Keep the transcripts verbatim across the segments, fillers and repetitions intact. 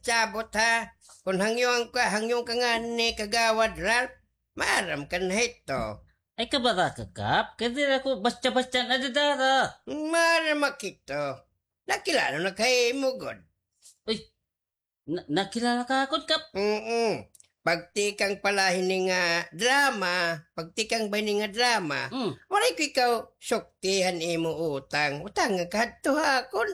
sabot, ha? Kon hangyoan ka, hangyoan ka ngani Kagawad Ralph, maaram ka na hito. Ay, kabaraka, Kap. Kay diri ako basta-basta nadadara. Maaram ak hito. Nakilala na ka ha imo gud. Uy, na-, nakilala ka akon, Kap? Mm-mm. Pagtikang pa la hini nga drama, pagtikang ba hini nga drama, mm, waray ko ikaw sukti han imo utang. Utang nga kahadto ha akon.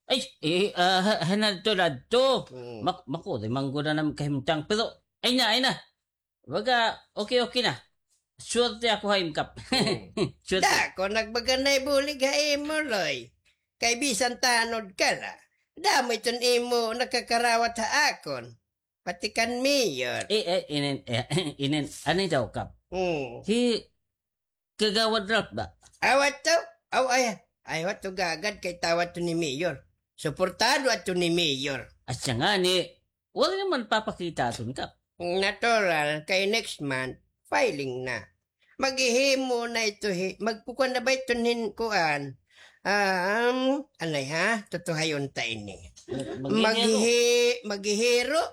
Ay, eh, ah, ha-, hanadto ladto. Mm. Mak-, makuri man gud an am kahimtang. Pero, ay na, ay na. Baga, okay, okay na. Swerte ako ha im, Kap. Hmm. Swerte. Dako nagbaga na ibulig ha imo, Loy. Kay bisan tanod ka la, damo iton imo nakakarawat ha akon. Pati kan Mayor. Eh, eh, inin, eh, inin, ano daw, Kap? Hmm. Hi Kagawad Ralph ba? Aw, ato? Aw, ay, ay, ato gagad kay tawa to ni Mayor. Suportado ato ni Mayor. Asya ngani, wala naman papakita aton, Kap. Natural, kay next month, filing na. Maghihimo na ito, hi-, magkukuan na ba ito nin kuan? Um, anay ha? Tutuhayon ta ini. Mag-, maghihiro? Maghihi-, maghihiro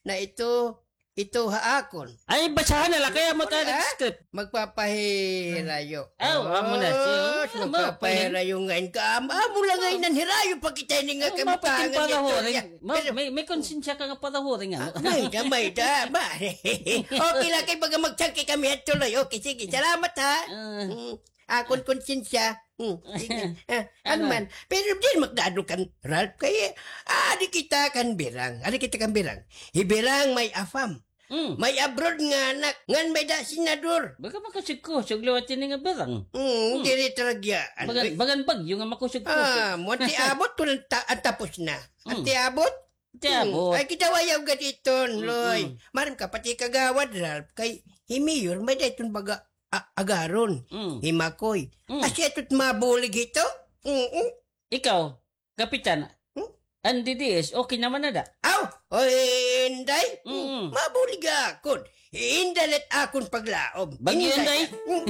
na ito, ito ha akon. Ay, basahan na la kay amo ta nag-script. Magpapahirayo. Aw, amo na siya. Oh, ano, magpapahirayo ngain ka. Am-, amo la ngain an hirayo pa kita ini nga kabutangan niya. Pero may, may konsensya ka nga parahuring, ano? Ah, may da, may da, ba? Okay la kay baga magsangki kami ha tuloy. Okay, sige, salamat ha. Ah. Mm. Akon konsensya. Hmm, sige. Ah, ano man. Pero diri makadadto kan Ralph kay, ah, adi kita kan Birang. Adi kita kan Birang. Hi Birang may afam. Mm. May abroad nga anak. Ngan may da senador. Baga makusog-kusog liwat ini nga Birang. Hmm, diri taragya. Bagan, bagan bagyo nga makusog-kusog. Ah, mo, an tiabot ko an ta-, an tapos na. An tiabot? Tiabot. Hmm. Ay, kita ayaw gad iton, Loy. Maaram ka, pati Kagawad Ralph, kay hi Mayor, may da iton baga a-, agaron. Mm. Hi Makoy. Mm. Asya ito it mabulig hito? Mm-mm. Ikaw, Kapitan, hmm? An D D S, okay naman na da? Aw, oy, Inday. Mm. Mabulig akon. Inday la it akon paglaom. Bagyo, Inday. Inday. Mm.